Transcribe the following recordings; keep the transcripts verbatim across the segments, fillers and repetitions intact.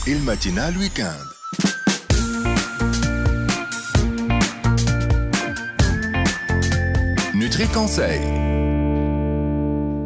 ال matinale week-end. Nutri Conseil.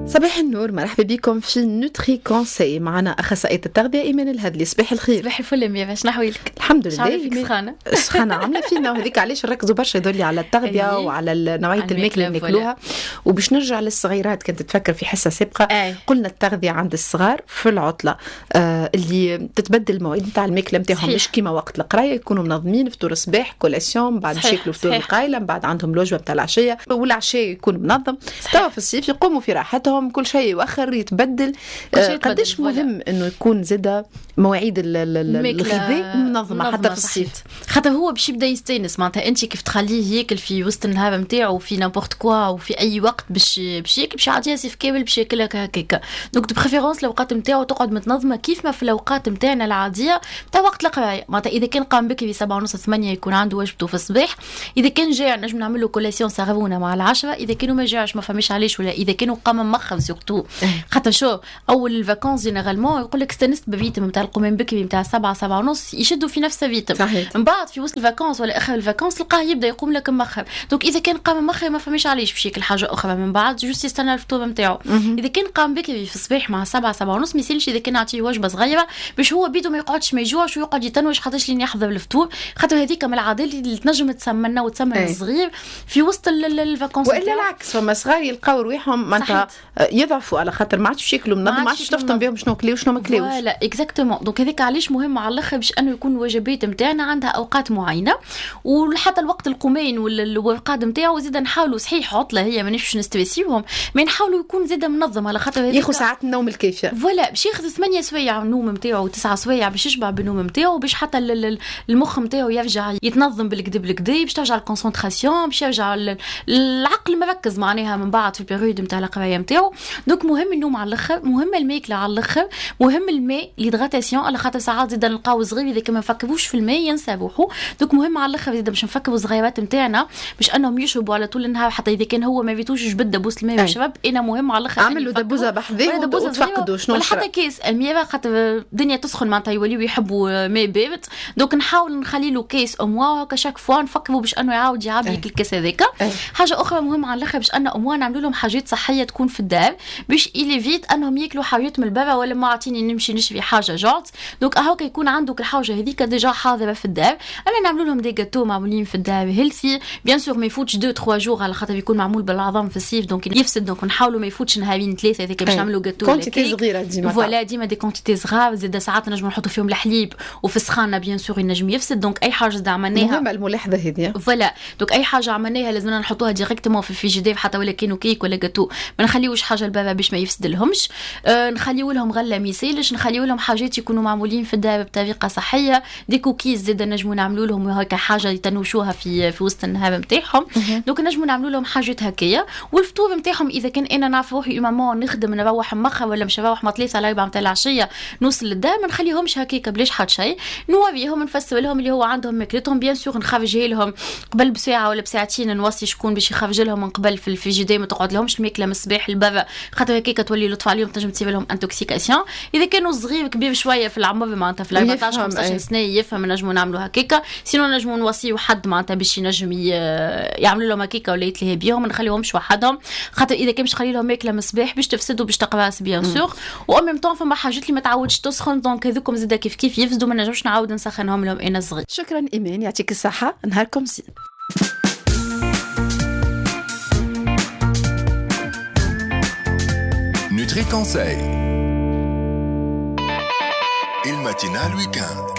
صباح النور، مرحبا بكم في Nutri Conseil. معنا اخصائية التغذية ايمان الهدلي. صباح الخير. صباح الفل يا باش نحويلك. الحمد لله. فيك سخانه سخانه عامله فينا، وهذيك علاش نركزوا برشا يدولي على التغذية وعلى نوعية الماكلة اللي ناكلوها. وباش نرجع للصغيرات، كنت تفكر في حصة سابقه أي. قلنا التغذية عند الصغار في العطلة آه اللي تتبدل المواعيد نتاع الماكلة نتاعهم، مش كيما وقت القراية يكونوا منظمين فطور الصباح collation، بعد ياكلوا فطور القايله، بعد عندهم الوجبة نتاع العشية، والعشاء يكون منظم. توا في الصيف يقوموا في راحتهم، كل شيء يؤخر يتبدل. آه قداش مهم انه يكون زاده مواعيد الغذاء منظمة حتى في الصيف، خاطر هو باش يبدا يستانس. معناتها انت كيف تخليه ياكل في وسط النهار نتاعو في n'importe quoi وفي اي وقت باش باش ياكل، باش يعطيه صيف كامل باش ياكلها هكاك. donc de préférence الاوقات نتاعو تقعد متنظمه كيف ما في الاوقات نتاعنا العادية تاع وقت القراية. معناتها اذا كان قام بكري سبعة ونص ثمانية يكون عنده وجبته في الصباح. اذا كان جاع نجم نعمل له collation صغرونه مع العشرة. اذا كانوا ما جاعش ما فماش علاش، ولا اذا كانوا قام مخر surtout خاطر شو اول ال vacances généralement يقول لك استانست ب rythme نتاع القومان بكري نتاع سبعة سبعة ونص، يشدوا في نفس ال rythme. من بعد في وسط ال vacances ولا اخر ال vacances تلقاه يبدا يقوم لك مخر. donc اذا كان قام مخر ما فماش علاش باش ياكل حاجة اخرى من بعد، juste يستنى الفطور نتاعو. اذا كان قام بكري في الصباح مع سبعة سبعة ونص ما يسالش اذا كان نعطيه وجبة صغيرة باش هو بيدو ما يقعدش ما يجوعش ويقعد يتنوش خاطرش لين يحضر الفطور، خاطر هذيك من العادات اللي تنجم تسمنا وتسمن الصغير في وسط ال vacances. والا العكس، فما صغار يلقاو رواحهم معناتها يضعفوا على خاطر ما عادش ياكلوا منظم، ما عادش تفطن بهم شنو كلاو وشنو ما كلاوش. voilà exactement. donc هذاك علاش مهم على الاخر باش انه يكون الوجبات نتاعنا عندها اوقات معينة، وحتى الوقت القومين والرقاد نتاعو زيد نحاولوا. صحيح عطله هي مانيش باش نستريسيوهم، mais نحاولوا يكون زيد منظم على خاطر ياخذ ساعات النوم الكافيه. voilà باش ياخذ ثمانية سوايع النوم نتاعو وتسعة سوايع باش يشبع بالنوم نتاعو، باش حتى المخ نتاعو يرجع يتنظم بالكدا بالكدا، باش ترجع ال concentration، باش يرجع العقل مركز معناها من بعد في ال période نتاع القراية نتاعو. donc مهم النوم على الاخر، مهم الماكلة على الاخر، مهم الماء l'hydratation على خاطر ساعات زيد نلقاو صغير اذا كان ما نفكروش في الماء ينسى روحو. donc مهم على الاخر زيد باش نفكروا الصغيرات نتاعنا باش انهم يشربوا على طول النهار، حتى اذا كان هو ما بيتوش جبد دبوس الماء ويشرب. انا مهم على الاخر عملوا دبوزه بحذاه وتفقدوا شنو، ولا حتى كيس المياه خاطر الدنيا تسخن معناتها يوليو يحبوا ماء بارد. donc نحاول نخلي له كيس au moins هكا chaque fois نفكروا باش انه يعاود يعبي الكاس هذاك. حاجة اخرى مهمة على الاخر باش ان au moins نعملوا لهم حاجات صحية تكون في الدار باش il évite انهم ياكلوا حاجات من البابا ولا ما عطيني نمشي نشري حاجة جات. donc هاكا يكون عندك الحاجة هذيك déjà حاضره في الدار. انا نعملوا لهم des gâteaux معمولين في الدار healthy bien sûr، ما يفوتش deux trois jours على خاطر يكون معمول بالعظم في الصيف donc يفسد. donc نحاولوا ما يفوتش نهارين ثلاثة هذيك باش نعملوا gâteau quantité صغيرة ديما. voilà ديما des quantités صغار. زاد ساعات نجموا نحطوا فيهم الحليب وفي السخانه bien sûr ينجم يفسد. donc اي حاجة زاد عملناها مهمة الملاحظة هذه. voilà donc اي حاجة عملناها لازمنا نحطوها directement في الفيجيدير حتى ولا كانوا كيك ولا جاتو، ما نخليوش حاجة البابا باش ما يفسد لهمش. أه نخليو لهم غله ميسالش، نخليو لهم حاجات يكونوا معمولين في الدار بطريقة صحية. des cookies زاد نجموا نعملوا لهم هكا حاجة يتنوشوها في في وسط النهار نتاعهم. donc نجموا نعملوا لهم حاجات هكايا. والفطور نتاعهم اذا كان انا نعرف روحي maman نخدم نروح مخر ولا مش نروح ما ثلاثة على أربعة نتاع العشية نوصل للدار، ما نخليهمش هكاك بلاش حد شيء. نوريهم نفسر لهم اللي هو عندهم ماكلتهم bien sûr، نخرجها لهم قبل بساعة ولا بساعتين، نوصي شكون باش يخرج لهم من قبل في الفريجيدير، ما تقعد لهمش الماكلة من الصباح للبرا خاطر هكاك تولي لطف عليهم تنجم تصير لهم intoxication. اذا كانوا صغير كبير شوية في العمر معناتها في أربعطاش خمسطاش سنة يفهم نجموا نعملوا هكاك. sinon نجموا نوصيو حد معناتها باش ينجم يعملوا لهم هكاك ولا يتلهي بيهم، ما نخليهمش وحدهم خاطر اذا كان باش تخلي لهم ماكله من الصباح باش تفسدوا باش تقراس bien sûr. و même temps فما حاجات اللي ما تعودش تسخن donc هذوكم زاده كيف كيف يفسدوا، ما نجمش نعاود نسخنهم لهم انا صغير. شكرا ايمان، يعطيك الصحة، نهاركم زين. Nutri Conseil. ال matinale week-end.